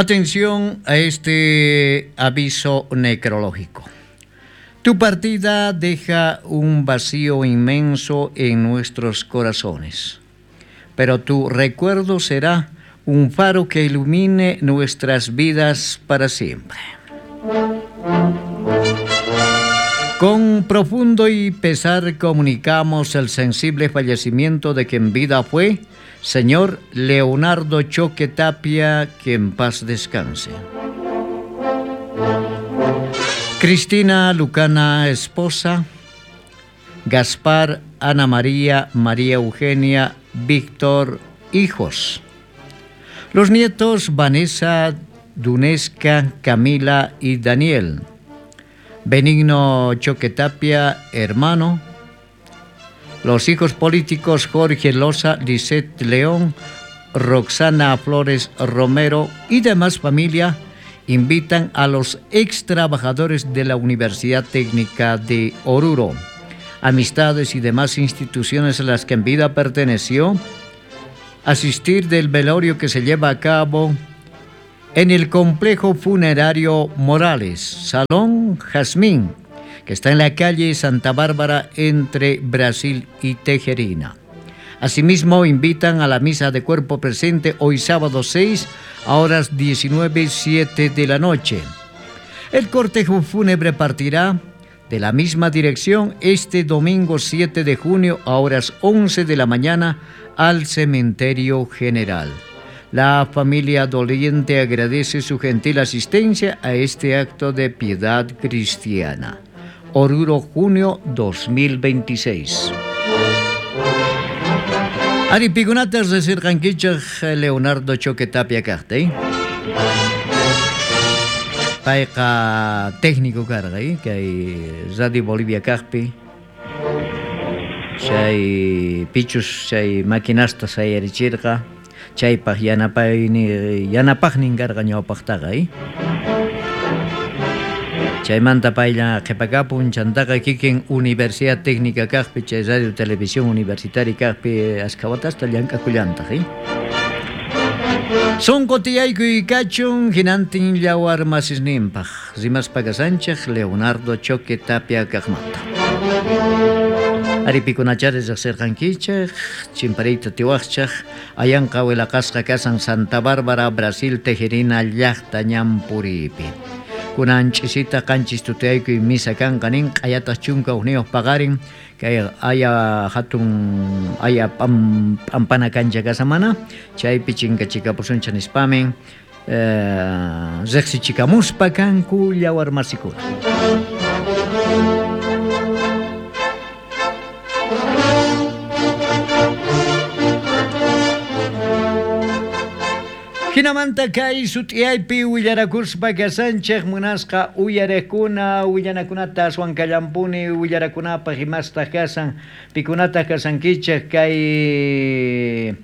Atención a este aviso necrológico. Tu partida deja un vacío inmenso en nuestros corazones, pero tu recuerdo será un faro que ilumine nuestras vidas para siempre. Con profundo y pesar comunicamos el sensible fallecimiento de quien vida fue señor Leonardo Choque Tapia, que en paz descanse. Cristina Lucana, esposa, Gaspar, Ana María, María Eugenia, Víctor, hijos. Los nietos Vanessa, Dunesca, Camila y Daniel. Benigno Choque Tapia, hermano. Los hijos políticos Jorge Loza, Lisette León, Roxana Flores Romero y demás familia invitan a los ex trabajadores de la Universidad Técnica de Oruro, amistades y demás instituciones a las que en vida perteneció, asistir del velorio que se lleva a cabo en el complejo funerario Morales, Salón Jazmín, que está en la calle Santa Bárbara entre Brasil y Tejerina. Asimismo, invitan a la misa de cuerpo presente hoy sábado 6 a horas 19:07 de la noche. El cortejo fúnebre partirá de la misma dirección este domingo 7 de junio a horas 11 de la mañana al Cementerio General. La familia doliente agradece su gentil asistencia a este acto de piedad cristiana. Oruro, junio 2026. Ari pikunatas resirqankichej Leonardo Choque Tapia kajta, Payqa técnico karqa, kay Radio Bolivia kajpi. Chay pichus chay maquinasta sayarichirqa, chaypaj yanapayni yanapajnin karqa ñawpaqtaqa, Chaymanta paylla qhipakapun, chantaqa kikin Universidad Técnica kajpi, chay Radio Televisión Universitaria kajpi ashkha watasta llank'akullantaq, Sonqo tiyaykuy kachun hinantin yawar masisninpaj, rimaspa kasanchej Leonardo Choque Tapia kajmanta. Aripikunachari riqsirqankichej, chimpariyta tiwaqchej, ayanqa wilaqasqa kasan Santa Bárbara, Brasil, Tejerina llaqta ñampuripi. Kunan ch'isita qanchis tutaykuy misa kanqa nin, q'ayataq chunka hukniyuq paqarin, kay aya hatun aya p'ampana kancha kasamana, chaypi chinkachikapusunchik nispamin, riqsichikamuspa kanku yawar masikuna. Hinamanta kay sut'iyaypi willarakuspa kasanchej munasqa uyarekuna willanakunata aswan kallampuni willarakunapaq imastaq kasan pikunataq kasankichej kay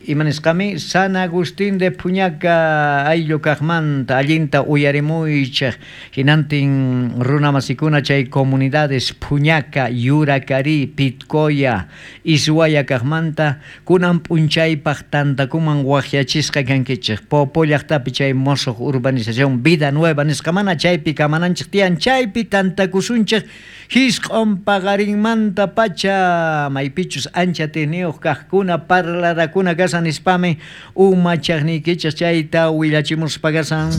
imanisqami San Agustín de Puñaca ayllu kaqmanta allinta uyarimuychej hinantin runamasikuna chay comunidades Puñaca, Yuracarí, Pitcoya, Ishuaya kaqmanta kunan p'unchaypaq tantakuman waqyachisqa kankichej Popo llaqtapi chay mosoq urbanización Vida Nueva nisqamana chaypi kamananchej tiyan chaypi tantakusunchej hisq'on paqarinmanta pacha maypichus ancha tiniyuq kaqkuna parlarakuna kasan nispami umachaqniykichej chayta willachimuspa kasan.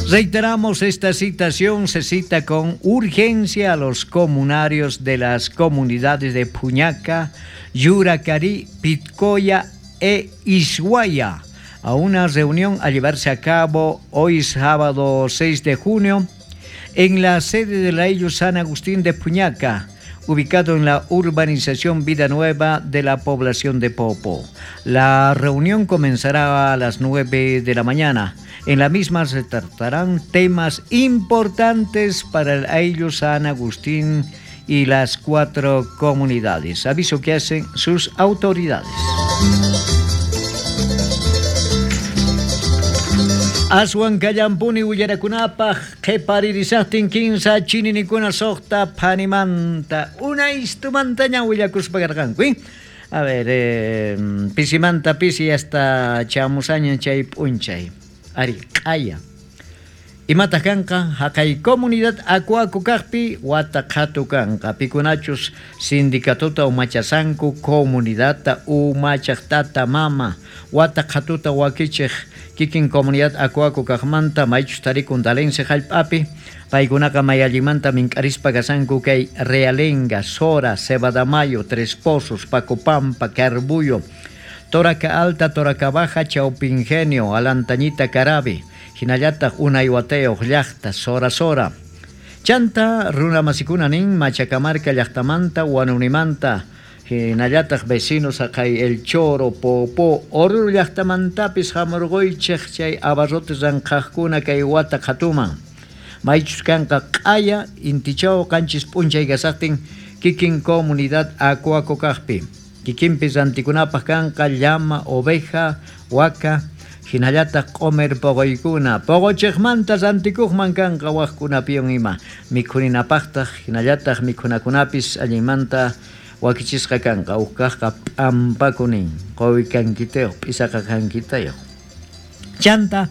Reiteramos esta citación, se cita con urgencia a los comunarios de las comunidades de Puñaca, Yuracarí, Pitcoya e Ishuaya a una reunión a llevarse a cabo hoy sábado 6 de junio en la sede de la Ayllu San Agustín de Puñaca, ubicado en la urbanización Vida Nueva de la población de Popo. La reunión comenzará a las 9 de la mañana. En la misma se tratarán temas importantes para el Ayllu San Agustín y las 4 comunidades. Aviso que hacen sus autoridades. Aswan kallampuni willarakunapaq qhiparirisaqtin kinsa chininikuna suqta phanimanta unaystumantaña willakuspa karqanku. A ver, pisimanta pisi hasta chamusaña chay p'unchay. Ari, q'aya. Imataq kanqa? Haqay comunidad Akuaku kaqpi wata qhatu kanqa. Pikunachus sindicatota umachasanku comunidadta umachaq tata mama wata qhatuta wakichiq kikin comunidad Akuaku kaqmanta maychus tarikun Dalense hallp'api paykunaqa may allinmanta mink'arispa kasanku kay Realenga, Sora, Cebadamayo, Tres Pozos, Pacopampa, Carbuyo, Toraca Alta, Toraca Baja, Chaupi Ingenio, Alantañita, Carabi, hinallataq unay watayuq llaqta Sora Sora. Chanta runa masikuna nin Machacamarca llaqtamanta, Huanunimanta, hinallataq vecinos haqay El Choro, Popó, Oruro llaqtamantapis hamurquychik chay abarrotes ranqhaqkuna kay wata qhatuman. Maychus kanqa q'aya intichaw qanchis p'unchay kasaqtin kikin comunidad Akuaku kaqpi. Kikinpis rantikunapaq kanqa llama, oveja, waka, hinallataq q'umir poqoykuna. Poqochiqmanta rantikuqman kanqa waqkunapiwan ima. Mikhuninapaqtaq hinallataq mikhunakunapis allinmanta wakichisqa kanqa. Uj kaqqa p'ampaku nin, quwi kankitayuq, p'isaqa kankitayuq. Chanta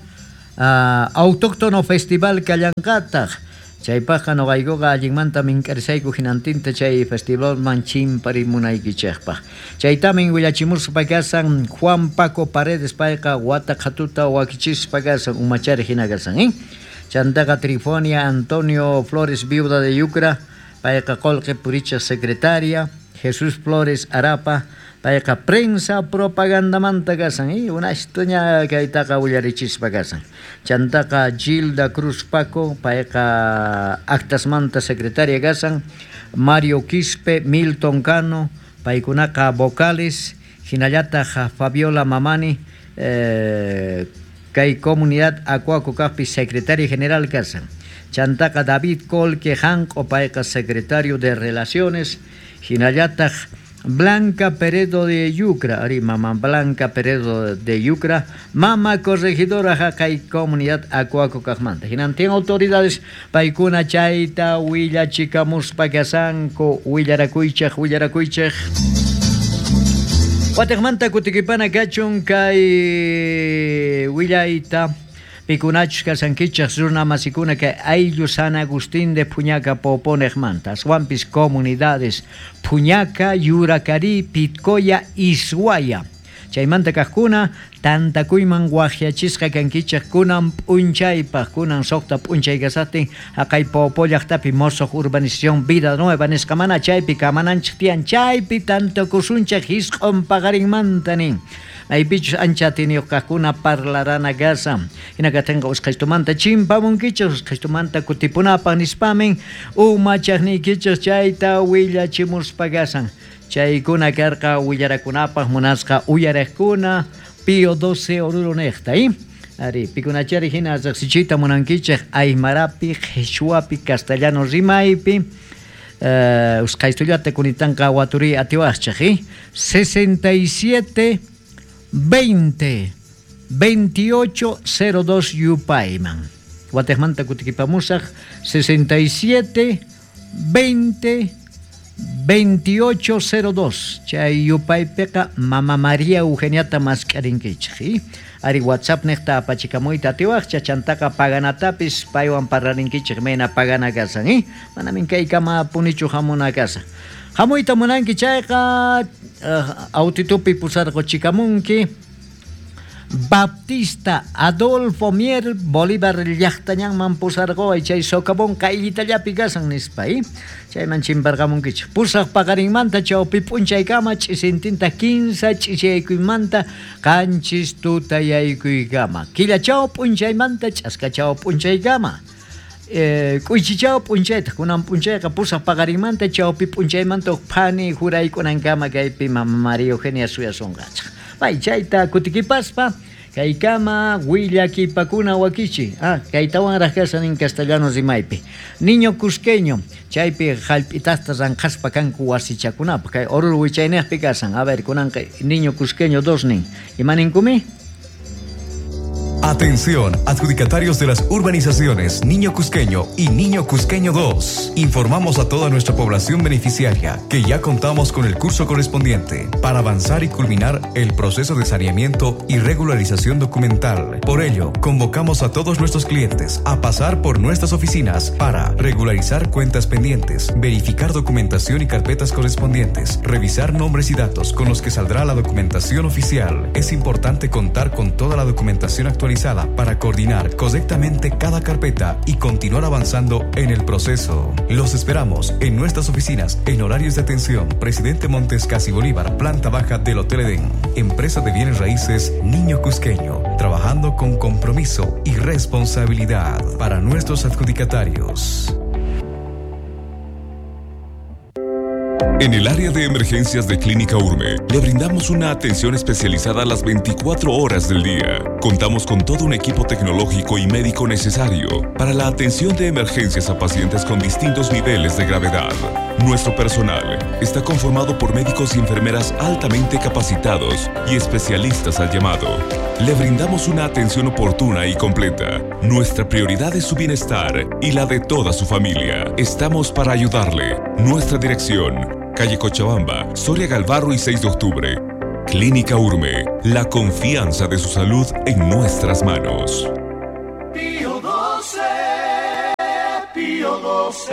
autóctono festival kallanqataq. Chaypaqqa noqaykuqa allinmanta mink'arisayku hinantinta chay festivalman chimparimunaykichikpaq. Chaytamin willachimuspa kasan Juan Paco Paredes payqa wata qhatuta wakichispa kasan umachari hina kasan, ¿eh? Chantaqa Trifonia Antonio Flores viuda de Yucra payqa qullqi purichaq secretaria, Jesús Flores Arapa payqa prensa propagandamanta kasan, ¿eh? Unashtuña kaytaqa willarichispa kasan. Chantaqa Gilda Cruz Paco payqa actasmanta secretaria kasan, Mario Quispe, Milton Cano paykunaqa vocales, hinallataq Fabiola Mamani kay comunidad Akuaku kaqpi secretaria general kasan. Chantaqa David Colque Janq'o payqa secretario de Relaciones, hinallataq Blanca Peredo de Yucra, ari mama Blanca Peredo de Yucra, mama corregidora haqay comunidad Akuaku kaqmanta. Hinantin autoridades paykuna chayta willachikamuspa kasanku willarakuychej willarakuychej. Wataqmanta kutikipana kachun kay willayta pikunachus kasankichej runa masikuna kay ayllu San Agustín de Puñaca Poponejmanta, aswanpis comunidades Puñaca, Yuracarí, Pitcoya, Ishuaya. Chaymanta kaqkuna tantakuyman waqyachisqa kankichej kunan p'unchaypaq, kunan suqta p'unchay kasaqtin haqay Popo llaqtapi mosoq urbanización Vida Nueva nisqa mana chaypi kamananchik tiyan chaypi tantakusunchik hisq'un paqarinmanta nin. Maypichus ancha atiniyuq kaqkuna parlarana kasan. Hina katinqa usqhaytumanta chimpamunkichik, usqhaytumanta kutipunapaq nispamin umachaqniykichik chayta willachimuspa kasan. Chaykuna karqa willarakunapaq munasqa uyariqkuna Pío 12 Oruro niqta, ¿eh? Ari, pikunachari hina riqsichiyta munankichik aymarapi, qhichwapi, castellano rimaypi. Usqhaytullata kunitanqa waturiy atiwaqchik, ¿eh? 67 20 28 02 yupayman. Watejmanta kutikipamusaq 67 20 28 02. Chay yupaypiqa Mama María Eugeniata mask'arinkichik, ¿eh? Ari WhatsApp niqta apachikamuyta atiwaqcha chantaqa paganatapis paywan parlarinkichik mayna pagana kasan, ¿eh? Manamin kaykama punichu hamuna kasan. Hamuyta munanki chayqa autitupi pusarquchikamunki Baptista Adolfo Mier Bolívar llaqtañanman pusarquway chay socavón qayllitallapi kasan nispa, ¿eh? Chayman chimparqamunkichik. Pusaq paqarinmanta chawpi p'unchaykama ch'isintinta 15 ch'isiyaykuymanta qanchis tutayaykuykama. Killachaw p'unchaymanta ch'askachaw p'unchaykama. K'uychichaw p'unchaytaq kunan p'unchayqa pusaq paqarinmanta chawpi p'unchaymanta huk phani juraykunankama kaypi Mama María Eugenia suyasunqachik. Pay chayta kutikipaspa kaykama willakipakuna wakichi. Kaytawanraq kasan en castellano rimaypi. Niño cusqueño, chaypi hallp'itasta ranqhaspa kanku wasichakunapaq. Kay Oruro wichayniqpi kasan. A ver, kunanqa niño cusqueño 2 nin. Ima ninkumi? Atención, adjudicatarios de las urbanizaciones Niño Cusqueño y Niño Cusqueño 2. Informamos a toda nuestra población beneficiaria que ya contamos con el curso correspondiente para avanzar y culminar el proceso de saneamiento y regularización documental. Por ello, convocamos a todos nuestros clientes a pasar por nuestras oficinas para regularizar cuentas pendientes, verificar documentación y carpetas correspondientes, revisar nombres y datos con los que saldrá la documentación oficial. Es importante contar con toda la documentación actualizada para coordinar correctamente cada carpeta y continuar avanzando en el proceso. Los esperamos en nuestras oficinas en horarios de atención. Presidente Montes Casi Bolívar, planta baja del Hotel Edén. Empresa de bienes raíces Niño Cusqueño, trabajando con compromiso y responsabilidad para nuestros adjudicatarios. En el área de emergencias de Clínica Urme, le brindamos una atención especializada a las 24 horas del día. Contamos con todo un equipo tecnológico y médico necesario para la atención de emergencias a pacientes con distintos niveles de gravedad. Nuestro personal está conformado por médicos y enfermeras altamente capacitados y especialistas al llamado. Le brindamos una atención oportuna y completa. Nuestra prioridad es su bienestar y la de toda su familia. Estamos para ayudarle. Nuestra dirección: calle Cochabamba, Soria Galvarro y 6 de octubre. Clínica Urme, la confianza de su salud en nuestras manos. Pío 12, Pío 12.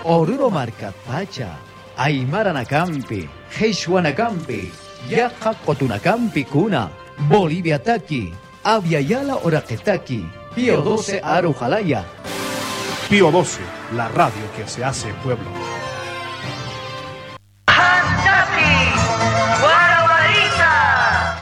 Oruro Marcapacha, Aymara Nacampi, Jesuanacampi, Yaja Cotunacampi Cuna, Bolivia Taqui, Aviala Oraqetaqui, Pío 12 Arujalaya. Pío 12, la radio que se hace pueblo.